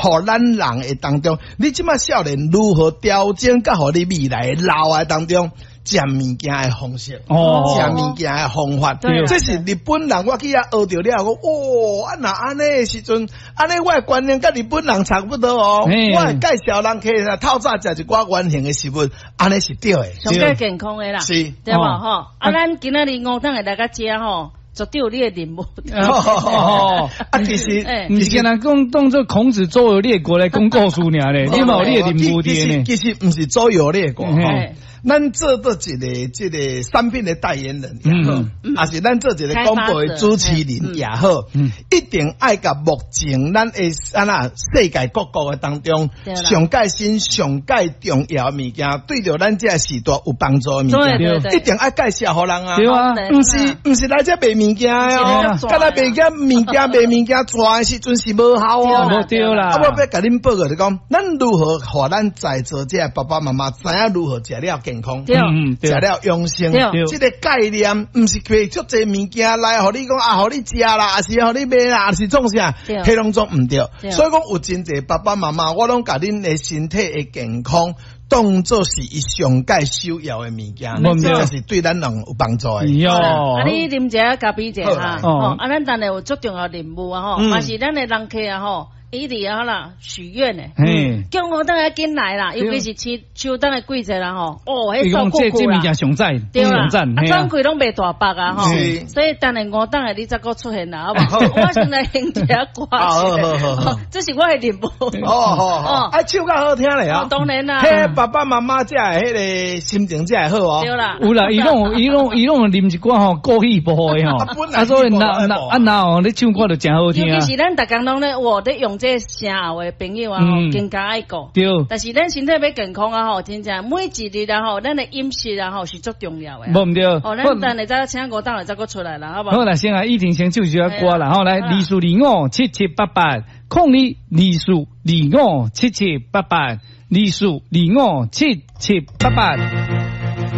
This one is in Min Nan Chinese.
予咱人的當中，你這馬少年如何調整，佮予你未來老的當中食物件的方式，食物件的方法，這是日本人我去遐學著了，講哦，啊若按呢的時陣，按呢我的觀念佮日本人差不多哦。我會介紹人客透早食一寡原型的食物，按呢是對的，上蓋健康的啦，對無吼？啊，咱今仔日吳董會來到遮吼，絕對有你的任務。哦，啊，其實毋是干焦講當做孔子周遊列國來講故事爾咧，你嘛有你的任務佇呢？其實毋是周遊列國吼。咱做做一个這个產品的代言人也好，抑是咱做一个廣播的主持人也好，一定愛共目前咱的按怎世界各國的當中，上蓋新、上蓋重要的物件，對著咱這个時代有幫助的物件，一定愛介紹予人啊！對啊，毋是來這賣物件的哦，干焦賣件物件賣物件，跩的時陣是無效哦。無對啦。啊，我欲共恁報告就講，咱如何予咱在座這个爸爸媽媽知影如何食了健康，食了養生，這个概念毋是提足濟物件來，予你講啊，予你食啦，抑是予你買啦，抑是創啥，彼攏總毋對。所以講有真濟爸爸媽媽，我攏共恁的身體的健康當做是伊上蓋首要的物件，這是對咱人有幫助的。啊，你啉一下咖啡者哈，啊，咱等下有足重要任務啊吼，嘛是咱的人客啊吼。一直啊啦許願的，叫吳董愛緊來啦，尤其是秋秋冬的季節啦吼，哦，彼數庫庫啦，這物件上讚，對啦，啊，轉開攏袂大百啊吼，所以等下吳董的你才閣出現啦，好無？我先來哼一下歌，這是我的任務。哦哦哦，啊，唱較好聽咧啊，當然啦，彼爸爸媽媽才會彼个心情才會好哦。對啦，有啦，伊攏伊攏伊攏啉一寡吼過氣薄的吼，啊，所以若若啊若哦，你唱歌就誠好聽。尤其是咱逐工攏咧，哇，咧用這聲喉的朋友啊，更加愛顧。但是咱身體欲健康啊，吼，真正每一日啊，吼，咱的飲食啊，吼，是足重要的。無毋對。哦，咱等下再請吳董來再閣出來啦，好無？好啦，先來依婷先唱一首歌啦，吼，來24257788，0224257788，24257788。